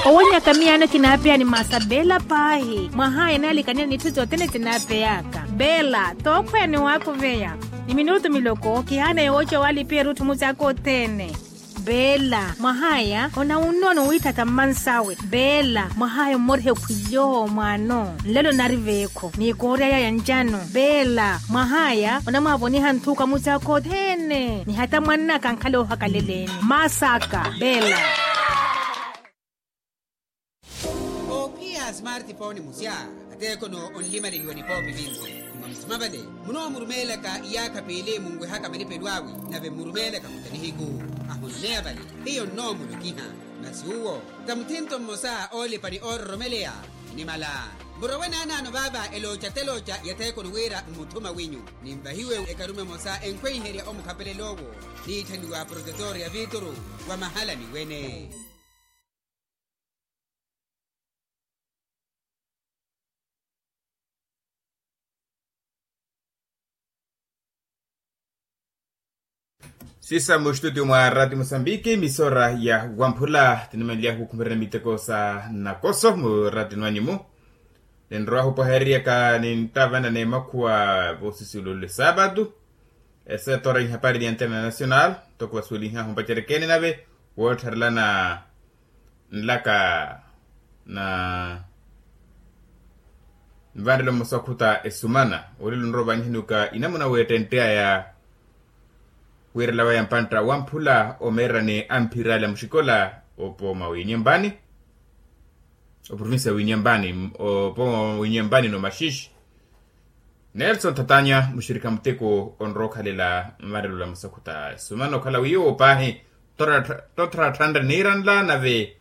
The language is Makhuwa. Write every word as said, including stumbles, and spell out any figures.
Owonyaka miyaano kinaapeya ni masa beela paahi mwahaya enaalikaniya n'itthu sothene sinaapeyaka. Beela tookhweya ni waakuveya ni minutu miloko kihaana yooca owaalipiya erutthu musaaka othene. Beela mwahaya onawunnono wiithatha mmansawe. Beela mwahaya ommoriha ekhwily'oho mwaano nlelo nari veekho ni koorya yaya ncano. Beela mwahaya onamwaavoniha nthuka musaaka othene ni hata mwannaka ankhale oohakaleleeni. Masaka beela. Oophiya a smartphone musya ateekhono onlimaleliwa nipoopi vinci. Mwa musima vale munoomurumeelaka iyaakha piili munwehaka malipelo awe nave mmurumeelaka muta nihiku. Ahuneya vale hiyo nnoomulokiha masi uwo ta muthinto mmosa oolipa ni oororomeleya. Inimala murowe naanaano vaava elooca-telooca ya theekoni wira mmuthuma winyu ninvahiwe ekarume emosa enkhweiherya omukhapelel'owo niitthaniwa protetor ya vituru wa mahalani wene. Sisa mu studio mwa rati musambiki misora ya wamphula tinimanly'ahu kukhumererya miteko sa nakoso mu rati nwanyu-mu. Ninrowahu opohereryaka ninttavana n'emakhuwa voosisiwula ole saapatu. Esetora ihapari ni antena nacional ntoko vasuwelinhahu mpacerekene nave woottharelana nlaka na nvanrelo mmosa okhuta esumana olelo nrowa ovaanyihanuka inamuna weettentte aya. Wiirela waya mpantta wamphula omeerani amphirali a muxikola opo mwa winyembani oprovincia ya winyembani opo mwa winyembani no maxixi. Nelson thatanya muxirikha muteko onrowa okhalela mmarelo la musakhuta esumana okhala wiiwo paahi. Tottharatthanre niiranla nave